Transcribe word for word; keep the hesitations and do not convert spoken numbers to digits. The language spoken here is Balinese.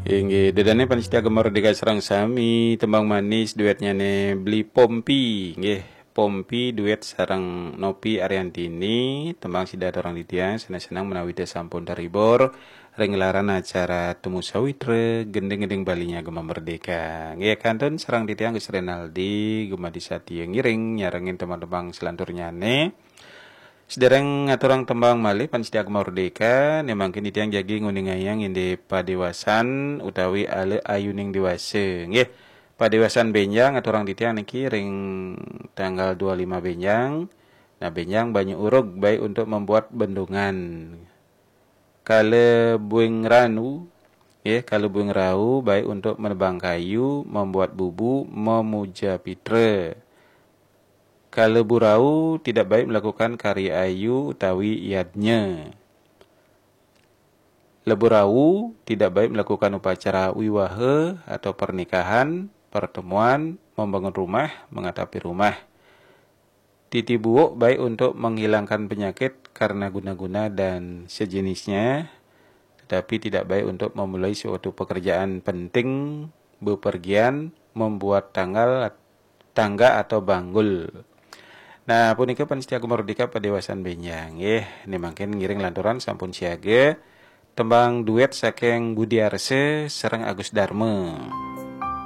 Inggih, ida dané pamiarsa Gema Merdeka sareng sami, tembang manis duetnyané Bli Pompi, nggih. Pompi duet sareng Nopi Ariantini, tembang sida aturang titiang, seneng-seneng menawi teu sampun terhibur ring gelaran acara Temu Sawitra gending-gending Balinya Gema Merdeka. Nggih, kantun sareng titiang Gus Renaldi, Gema Disatya ngiring nyarengin tembang-tembang selanturnyané. Sedereng ngaturang tembang malih pamiarsa Gema Merdeka, né mangkin titiang jagi nguningayang indik padéwasan utawi ala ayuning déwasa. Nggih, padéwasan bénjang aturang titiang niki ring tanggal dua lima bénjang. Nah, bénjang banyu urug baik untuk membuat bendungan. Kala buing ranu, nggih, kala buing rau baik untuk menebang kayu, membuat bubu, memuja pitra. Kala burau tidak baik melakukan karya ayu utawi yadnya. Leburau tidak baik melakukan upacara wiwaha atau pernikahan, pertemuan, membangun rumah, mengatapi rumah. Titi buuk baik untuk menghilangkan penyakit karena guna-guna dan sejenisnya, tetapi tidak baik untuk memulai suatu pekerjaan penting, bepergian, membuat tanggal, tangga atau banggul. Nah, punika pamiarsa Gema Merdeka padéwasan bénjang, nggih. Né mangkin ngiring lanturang sampun siaga tembang duet saking Budi Arsa sareng Agus Darma.